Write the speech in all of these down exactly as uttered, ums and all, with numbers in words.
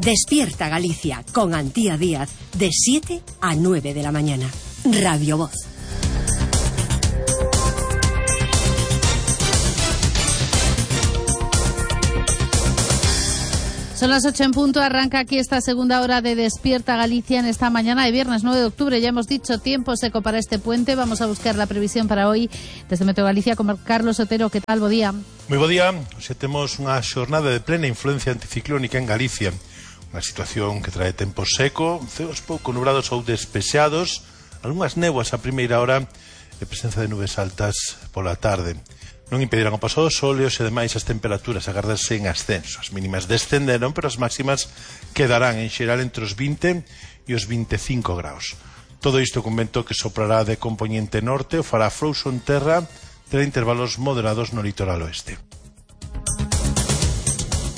Despierta Galicia con Antía Díaz de siete a nueve de la mañana. Radio Voz. Son las ocho en punto, arranca aquí esta segunda hora de Despierta Galicia en esta mañana de viernes nueve de octubre. Ya hemos dicho, tiempo seco para este puente. Vamos a buscar la previsión para hoy desde Meteo Galicia con Carlos Otero. ¿Qué tal? Bo día. Moi bo día. Hoxe temos unha xornada de plena influencia anticiclónica en Galicia. Unha situación que trae tempo seco, ceos pouco nubrados ou despexados, algunhas néboas a primeira hora e presenza de nubes altas pola tarde. Non impedirán o paso do sol e, hoxe, ademais, as temperaturas agardarse en ascenso. As mínimas descenderon, pero as máximas quedarán en xeral entre os vinte e os veinticinco graus. Todo isto con vento que soprará de compoñente norte, o fará frouxo en terra, terá intervalos moderados no litoral oeste.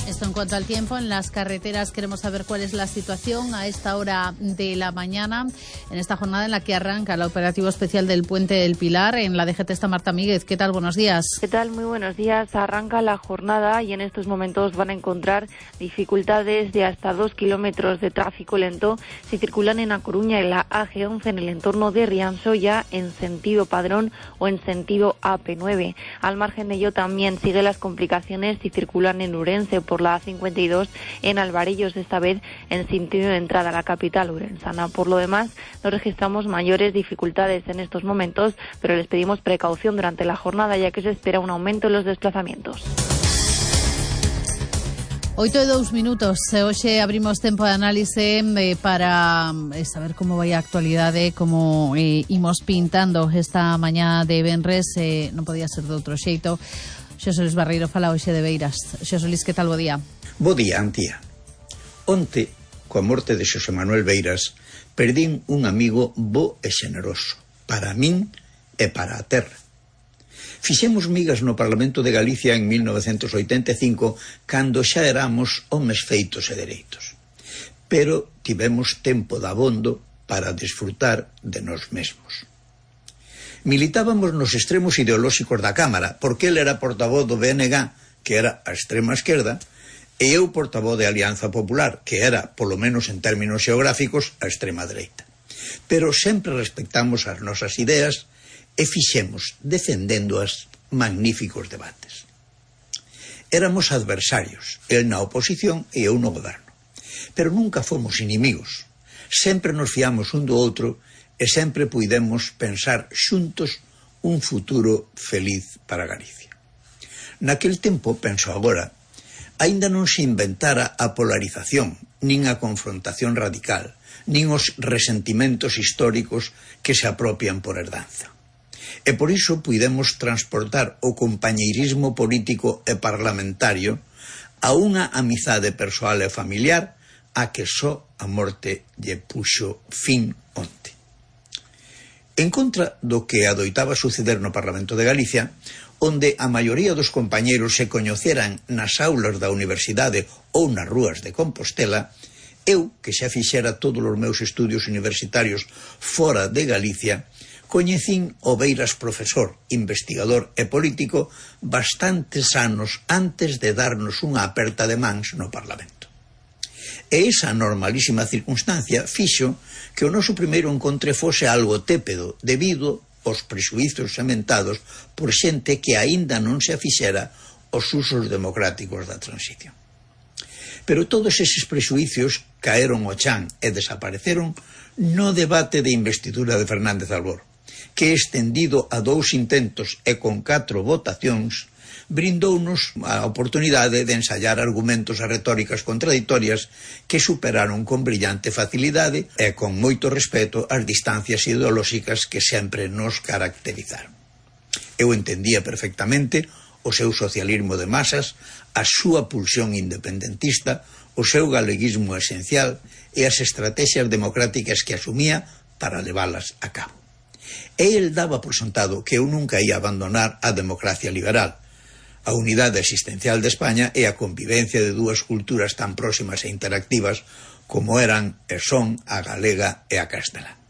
Esto en cuanto al tiempo. En las carreteras queremos saber cuál es la situación a esta hora de la mañana, en esta jornada en la que arranca el operativo especial del Puente del Pilar. En la D G T está Marta Míguez. ¿Qué tal? Buenos días. ¿Qué tal? Muy buenos días. Arranca la jornada y en estos momentos van a encontrar dificultades de hasta dos kilómetros de tráfico lento si circulan en A Coruña y la A G once en el entorno de Riansoya en sentido Padrón o en sentido A P nueve. Al margen de ello también sigue las complicaciones si circulan en Urense por la A cincuenta y dos en Alvarellos, esta vez en sentido de entrada a la capital urensana. Por lo demás, no registramos mayores dificultades en estos momentos, pero les pedimos precaución durante la jornada, ya que se espera un aumento en los desplazamientos. Oito e dous minutos. Hoxe abrimos tempo de análise eh, para eh, saber como vai a actualidade, como eh, imos pintando esta mañá de venres. Eh, non podía ser de outro xeito. Xosé Luis Barreiro fala hoxe de Beiras. Xosé Luis, que tal? Bo día. Bo día, Antía. Onte, coa morte de Xosé Manuel Beiras, perdín un amigo bo e xeneroso, para min e para a terra. Fixemos migas no Parlamento de Galicia en mil novecentos oitenta e cinco, cando xa éramos homes feitos e dereitos. Pero tivemos tempo dabondo para desfrutar de nós mesmos. Militábamos nos extremos ideolóxicos da Cámara, porque ele era portavoz do B N G, que era a extrema esquerda, e eu portavoz de Alianza Popular, que era, polo menos en términos xeográficos, a extrema dereita. Pero sempre respectamos as nosas ideas e fixemos, defendéndoas, magníficos debates. Éramos adversarios, el na oposición e eu no goberno. Pero nunca fomos inimigos. Sempre nos fiamos un do outro e sempre puidemos pensar xuntos un futuro feliz para Galicia. Naquel tempo, penso agora, aínda non se inventara a polarización, nin a confrontación radical, nin os resentimentos históricos que se apropian por herdanza. E por iso puidemos transportar o compañeirismo político e parlamentario a unha amizade persoal e familiar a que só a morte lle puxo fin onte. En contra do que adoitaba suceder no Parlamento de Galicia, onde a maioría dos compañeiros se coñeceran nas aulas da universidade ou nas rúas de Compostela, eu, que xa fixera todos os meus estudios universitarios fora de Galicia, coñecín o Beiras profesor, investigador e político bastantes anos antes de darnos unha aperta de mans no Parlamento. E esa normalísima circunstancia fixo que o noso primeiro encontre fose algo tépedo debido aos prexuízos sementados por xente que aínda non se afixera os usos democráticos da transición. Pero todos eses prexuízos caeron ao chan e desapareceron no debate de investidura de Fernández Albor, que estendido a dous intentos e con catro votacións brindounos a oportunidade de ensayar argumentos e retóricas contradictorias que superaron con brillante facilidade e con moito respeto as distancias ideolóxicas que sempre nos caracterizaron. Eu entendía perfectamente o seu socialismo de masas, a súa pulsión independentista, o seu galeguismo esencial e as estrategias democráticas que asumía para leválas a cabo. E el daba por sentado que eu nunca ia abandonar a democracia liberal, a unidade existencial de España e a convivencia de dúas culturas tan próximas e interactivas como eran e son a galega e a castelá.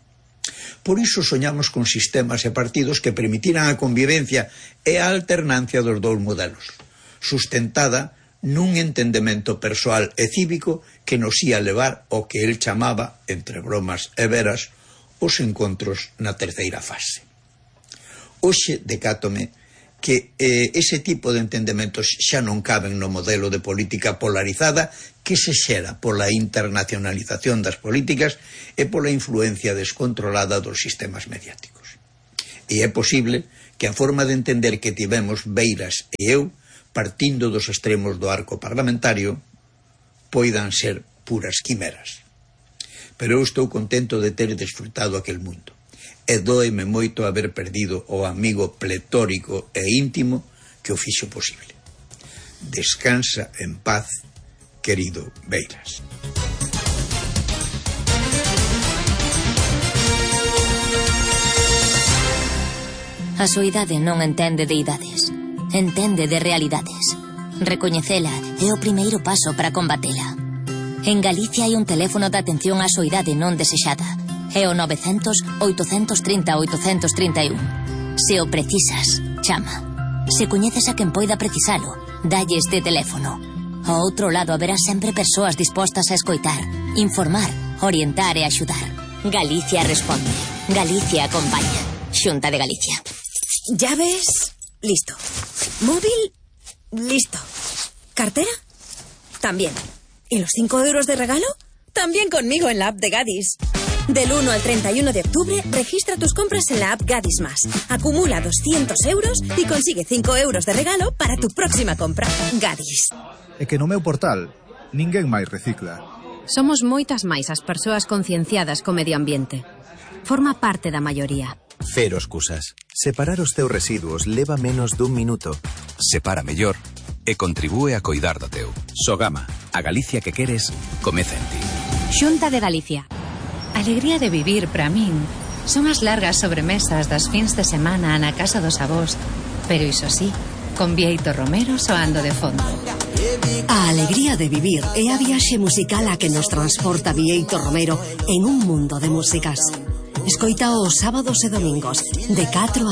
Por iso soñamos con sistemas e partidos que permitiran a convivencia e a alternancia dos dous modelos, sustentada nun entendemento persoal e cívico que nos ia levar ao que el chamaba, entre bromas e veras, os encontros na terceira fase. Hoxe decátome que eh, ese tipo de entendementos xa non caben no modelo de política polarizada que se xera pola internacionalización das políticas e pola influencia descontrolada dos sistemas mediáticos. E é posible que a forma de entender que tivemos Beiras e eu, partindo dos extremos do arco parlamentario, poidan ser puras quimeras. Pero eu estou contento de ter desfrutado aquel mundo. E dóeme moito haber perdido o amigo pletórico e íntimo que o fixo posible. Descansa en paz, querido Beiras. A soidade non entende de idades, entende de realidades. Recoñecela é o primeiro paso para combatela. En Galicia hai un teléfono de atención á soidade non desexada. É o novecentos, oitocentos trinta, oitocentos trinta e un. Se o precisas, chama. Se coñeces a quen poida precisalo, dalle este teléfono. Ao outro lado haberá sempre persoas dispostas a escoitar, informar, orientar e axudar. Galicia responde. Galicia acompaña. Xunta de Galicia. Llaves, listo. Móvil, listo. ¿Cartera? También. ¿Y los cinco euros de regalo? También conmigo en la app de Gadis. Del uno al treinta y uno de octubre, registra tus compras en la app Gadis Más. Acumula doscientos euros y consigue cinco euros de regalo para tu próxima compra. Gadis. É que no meu portal, ninguén máis recicla. Somos moitas máis as persoas concienciadas co medio ambiente. Forma parte da maioría. Cero excusas. Separar os teus residuos leva menos dun minuto. Separa mellor e contribúe a coidar do teu. Sogama, a Galicia que queres, comeza en ti. Xunta de Galicia. Alegría de vivir, para min, son as largas sobremesas das fins de semana na casa dos avós, pero iso sí, con Bieito Romero soando de fondo. A alegría de vivir é a viaxe musical a que nos transporta Bieito Romero en un mundo de músicas. Escoita os sábados e domingos, de catro a